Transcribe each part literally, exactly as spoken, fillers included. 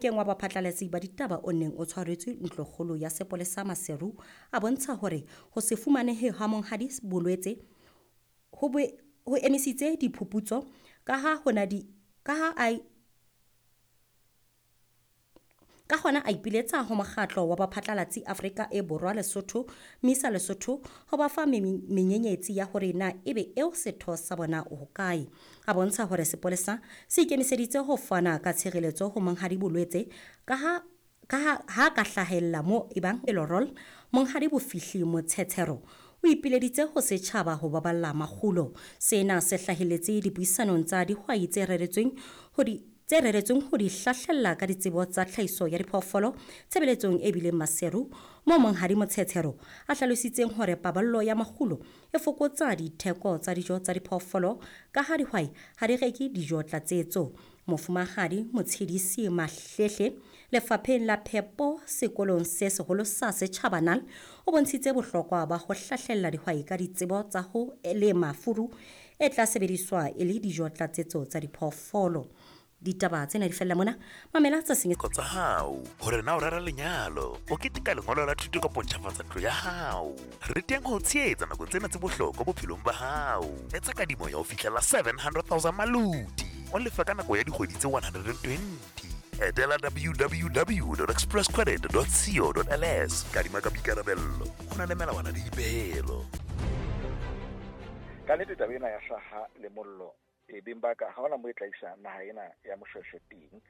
Mofokeng wa baphatlalatsi ba ditaba o neng o tshwaretswe ntlokgolo ya sepolesa Maseru a bontsha hore ho se fumanehe ha Monghadi Bolwetse ho bo ho emisitse diphuputso kaha hona di kaha a ka hona a ipiletsa ho mokgatlo wa baphatlalatsi Afrika e Borwa Lesotho MISA Lesotho ho ba fa menyenyetsi ya hore na ebe eo setho sa bona o hokae. A bontsha hore sepolesa se ikemiseditse ho fana ka tshireletso ho Monghadi Bolwetse kaha kaha ha ka hlahella mo ebang Elorol Monghadi Bofihli Motshetshero o ipileditse ho setjhaba ho baballa makgulo. Sena se hlahelletse dipuisanong tsa dihwai tse reretsweng ho di tse reretsweng ho di hlahlella ka ditsebo tsa tlhahiso ya diphoofolo tshebeletsong e bileng Maseru moo Monghadi Motshetshero a hlalositseng hore paballo ya makgulo e fokotsa ditheko tsa dijo tsa diphoofolo ka ha dihwai ha di reke dijo tlatsetso. Mofumahadi Motshedisi Mahlehle lefapheng la phepo sekolong se seholo sa setjhaba N A L o bontshitse bohlokwa ba ho hlahlella dihwai ka ditsebo tsa ho lema furu e tla sebediswa e le dijo tlatsetso tsa diphoofolo. Ditaba tsena di fella mona, mamela tsa seng tsa hao hore na o rera lenyalo, o keteka lengolo la thuto kapa o ntjhafatsa ntlo ya hao. Re teng ho o tshehetsa nakong tsena tse bohlokwa bophelong ba hao. Etsa kadimo ya ho fihlela seven hundred thousand maloti, o lefe ka nako ya dikgwedi tse one hundred and twenty. Etela w w w dot express credit dot co dot l s. Kadima ka boikarabello, ho na le melawana le dipehelo. Ka nnete taba ena ya hlaha le mollo e beng ba ka ha hona mo e tla isa naha ena ya Moshweshwe teng,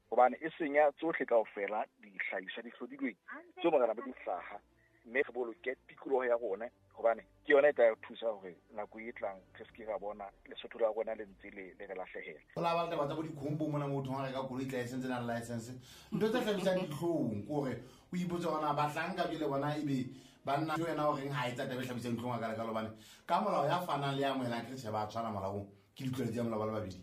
hobane e senya tsohle kaofela dihlahiswa di hlodilweng tseo morena ba di hlaha, mme re boloke tikoloho ya rona hobane ke yona e tla re thusa hore nako e tlang re se ke ra bona Lesotho la rona le ntse le, le re lahlehela. Ho la ba le taba tsa bo dikhombo mona motho ha reka koloi tla e sentse na le license. Ntho tse hlabisang dihlong ke hore o ipotse hore na bahlanka jwale bona ebe banna jo yena o reng ha etsa taba e hlabisang dihlong a ka lekalo, hobane ka molao ya fanang le ya amohelang ke tjhe ba tshwana molaong, ke ditlwaelo tsa molao ba le babedi.